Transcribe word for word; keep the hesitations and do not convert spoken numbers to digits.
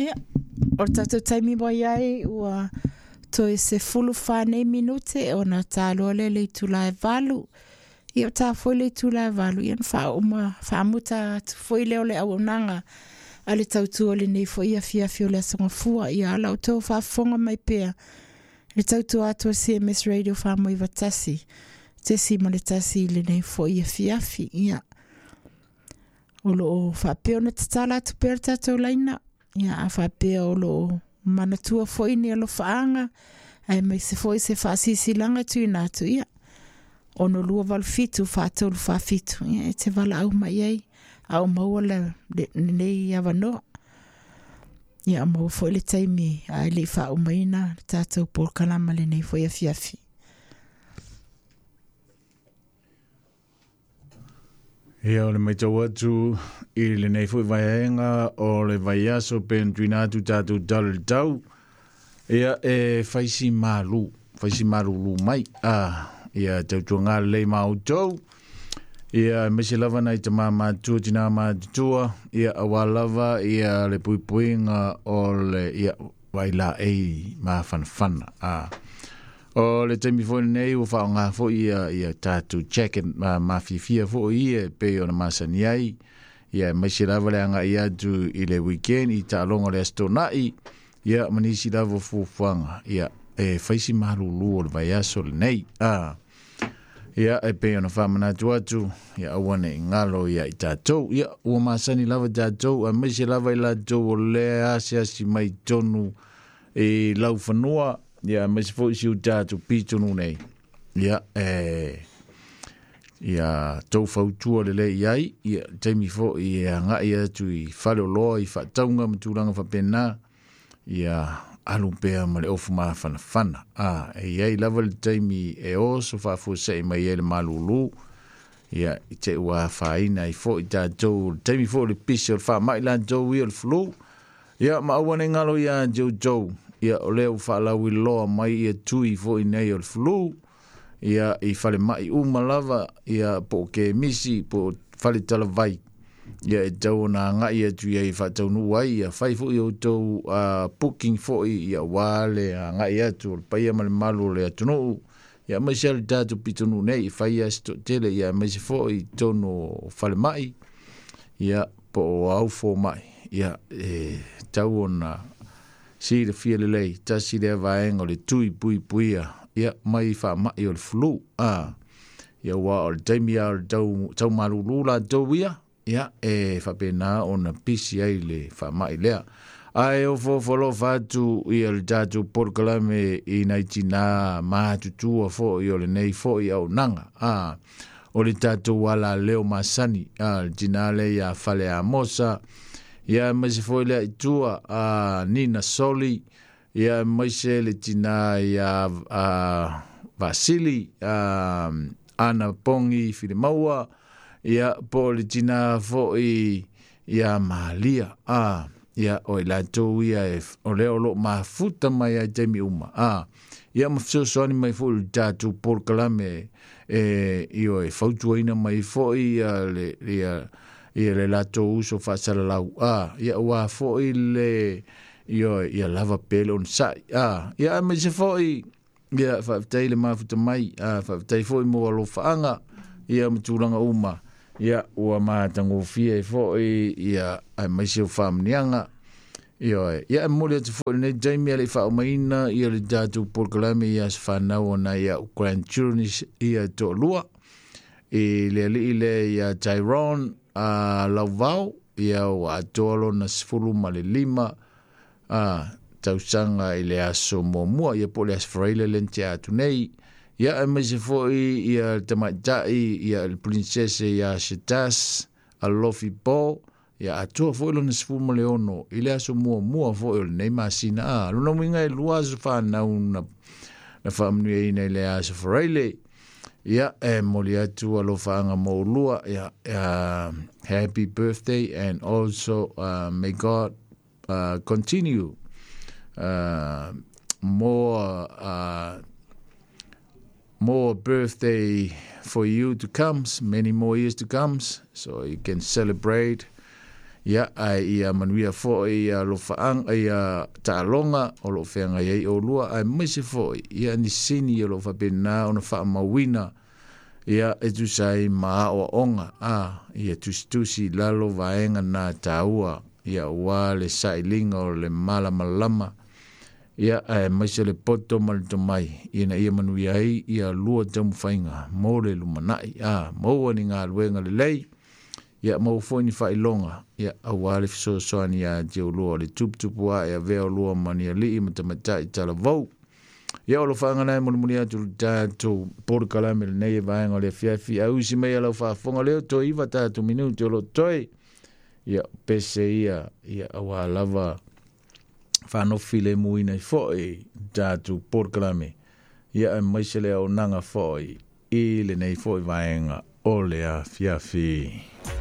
Ia, o le tatou taimi ua i ai ua toe sefulu fa nei minute ona taloa lea i le itula e valu. Ia o ta foi le itula e valu, ia na faauma faamuta atu foi lea o le auaunaga a le tautua lenei foi afiafi o le Aso Gafua. Ia ala o outou faafofoga mai pea le tautua atu a C M S Radio faamoiva tasi tesi ma le tasi i lenei foi afiafi. Ia, o loo faapea ona tatala atu pea le tatou laina. Ia, a faapea o loo manatua foi ni alofaaga ae maise foi se faasisilaga tuuina atu, ia, ono lua valu fitu faatolu faafitu. Ia, e te valaau mai ai a o maua le, le, lenei avanoa. Ia, maua foi le taimi ae le i faaumaina le tatou polokalama lenei foi afiafi. Ia, o le maitau atu i lenei foi vaega o le vaiaso pe na tuuina atu tatou tala i le tau. Ia, e faisi malu, faisi malulu mai. Ah, ia tautuaga lelei ma outou. Ia, aemaise lava nai tamā matutua, tinā matutua. Ia, auā lava ia le puipuiga o le ia vailaei mafanafana. Ah, o le taimi foi lenei ua faaaoga foi ia, ia tatou jacket ma mafiafia foi ia e pei ona masani ai. Ia, aemaise lava le agai atu i le weekend i taaloga o le Aso Toonai. Ia, ma nisi lava o fuafuaga. Ia, e faisi malulu o le vaiaso lenei. Ah, ia, e pei ona faamanatu atu, ia aua ne i galo ia i tatou. Ia, ua masani lava tatou, aemaise lava i latou o lea asiasi mai tonu i laufanua. Ia, aemaise foi si o tatou pitonu nei. Ia, e ia tou fautua lelei i ai. Ia, taimi foi e agai atu i faleoloa, i faatauga ma tulaga faapena. Ia, alu pea ma le ofu mafanafana. Ah, e iai lava le taimi e oso faafuasei mai ai le malulu. Ia, i te ua afaina ai foi tatou, le taimi foi o le pisi o le faamai latou ia o le flu. Ia, ma aua ne i galo ia te outou. Ia, o lea ua faalauiloa mai ia tui foi nei o le flu. Ia, i falemai uma lava, ia, po o kemisi, po o faletalavai. Ia, e tau ona agai atu ia i faataunuu ai. Ia, fai foi outou uh, booking foi, ia, ua le agai atu o le paia ma le malu o le atunuu. Ia, aemaise le tatou pitonuu nei, i fai ia se toatele. Ia, aemaise foi i totonu o falemai, ia, po o au fomai. Ia, e tau ona silafia lelei, tasi lea vaega o le tui puipuia, ia, mai faamai o le flu. Ah, ia, ua o le taimi a o le tau, tau malulu latou ia, ia, e faapena ona pisi ai le faamai lea. Ae ofo alofa atu ia le tatou polokalame i nai tinā matutua foi o lenei foi auaunaga. Ah, o le tatou alaleo masani, ah, le tinā lea ia Fale Amosa. Ia, aemaise foi lea i tua, ah, Nina Soli. Ia, aemaise le tinā ia, ah, Vasili, ah, Ana Pongi Filimaua. Ia, po o le tinā foi ia Malia. Ah, ia, o i latou ia e, o lea o loo mafuta mai ai taimi uma. Ah, ia, ma fesoasoani mai foi le tatou polokalame e, io, e fautuaina mai foi ia le, ia, ia le latou uso faasalalau. Ah, ia, ua foi le, io, ia lava pea le onosai. Ah, ia, aemaise foi, ia, faafetai le mafuta mai. Ah, faafetai foi mo alofaaga, ia, ma tulaga uma. Ia, ua matagofie ai foi, ia, aemaise o faamanuiaga. Ia, ia, e momoli atu foi lenei taimi a le i faaumaina ia le tatou polokalame ia se fanau ona ia o grandchildren ia toalua. I le alii lea ia Tyrone, uh, Lauvao, ia ua atoa lona sefulu ma le lima, uh, tausaga i le aso muamua, ia po o le Aso Faraile le na tea atu nei. Ia, aemaise foi ia le tamaitai, ia le princese ia Shetas Alofi Po, ia atoa foi lona sefulu ma le ono i le aso muamua foi o lenei masina. Ah, lona uiga e lua aso fanau na, na faamanuiaina i le Aso Faraile. Ia, e momoli atu alofaaga mo ulua. Ia, uh, happy birthday, and also, uh, may God, uh, continue, uh, more, uh, more birthday for you to come, many more years to come, so you can celebrate. Ia ae ia manuia fo'i ia alofaʻaga ia taaloga o loo feagai ai olua aemaise fo'i ia nisini o loo faapenā ona faamauina ia e tusa ai ma aoaoga a ia tusitusi lalo vaega na taua ia ua le sailiga o le malamalama ia aemaise le poto ma le tomai ina ia manuia ai ia lua taumafaiga mo le lumanai a maua ni galuega lelei ia maua foi ni faailoga ia auā le fesoasoani iā te ulua o le tuputupu ae avea olua ma ni alii ma tamaitai talavou ia o alofaga nae mulimuli atu le tatou polokalame lenei e vaega o le afiafi ausi mai alau faafofoga leo toe iva tatou minute o loo toe ia pese ia ia auā lava faanofi lemuina ai fo'i tatou polokalame ia aemaise le auaunaga fo'i i lenei fo'i vaega o le afiafi.